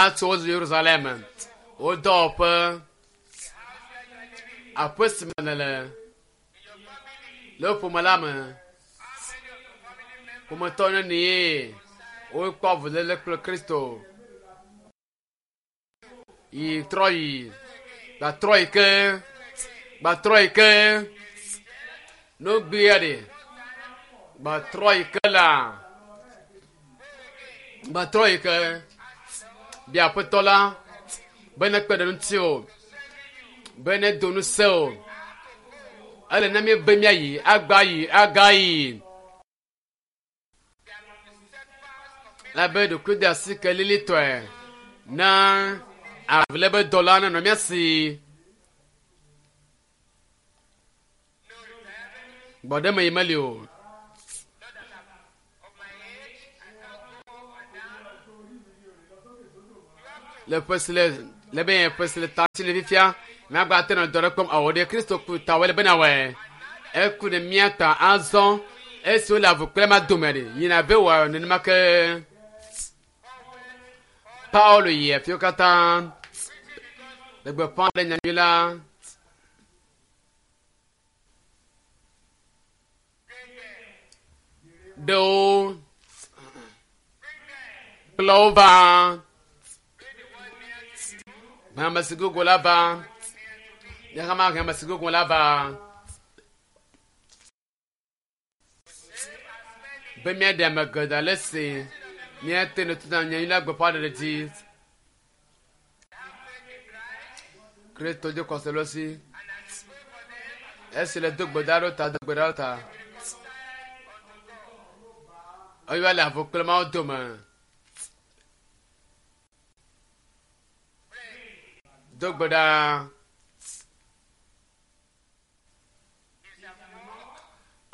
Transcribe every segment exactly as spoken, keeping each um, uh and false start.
Atso Yerusalem. Wo dɔwɔƒe. Aƒe si me nèle. Le wò ƒome la me. Ƒometɔ nenie wokpɔ avuléle kple Kristo. Yi trɔ yi. Gbatrɔ yi ke. Gbatrɔ yi ke. No gbea ɖe. Gbatrɔ yi ke la. Gbatrɔ yi ke. Bia aƒetɔ la be nekpe ɖe ŋuti o. Be nedo ŋusẽ o. Ele na mi be míayi agba yi aga yi. Labe ɖokuiɖoasi ke lilitɔe na avu be dɔla nenɔ mía si. Gbɔɖeme yi meli o. Le ƒe si le le be ƒe si le ta si le fifia míagba te nɔ dɔ ɖe kpɔm awɔ ɖe Kristo ku ta wɔ le bena wɔe. Eku ɖe mía ta azɔ esi wole avu kple ma dome ɖe yina be wɔ nenema ke. Paulo yi afiwo katã le gbeƒã ɖe nyanyui la. Ɖewo kplɔ wo va. Ame si gogo la va. Nye hã mahe ame si gogo la va. Be míaɖe ame geɖe ale si míate ŋu tutu nyanyui la gbeƒãɖeɖe dzi. Kristo dzi xɔse le si. Esi le do gbe ɖa ɖo ta, do gbe ɖa ɖo ta. Eya le avu kple Mawu dome. Do gbe ɖa.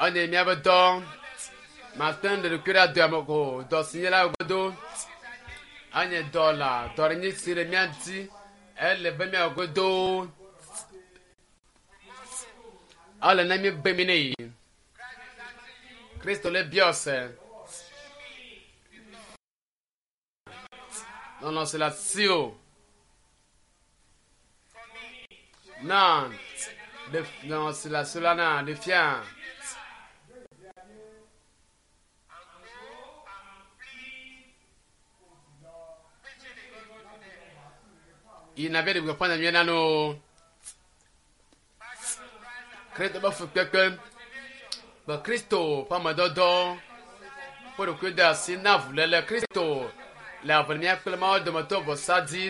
Enye míaƒe dɔ. Mate ŋu ɖe ɖokui ɖe adoa me o. Dɔ si nye la godo. Enye dɔ la dɔ ɖe nyi si le mía dzi. Ele be míawɔ godo. Ele na mi be mi ne yi. Kristo le biɔ se. Lɔlɔ̃ si le asiwò. Na ɖe lɔlɔ̃ si le asiwò la na ɖe fia. Yina be ɖe gbeƒã nyanyui na no. Kristo be fukpekpe be Kristo ƒe amedɔdɔ ƒe ɖokui de asi na avuléle Kristo le avu mía kple Mawu dometɔ vɔsa dzi.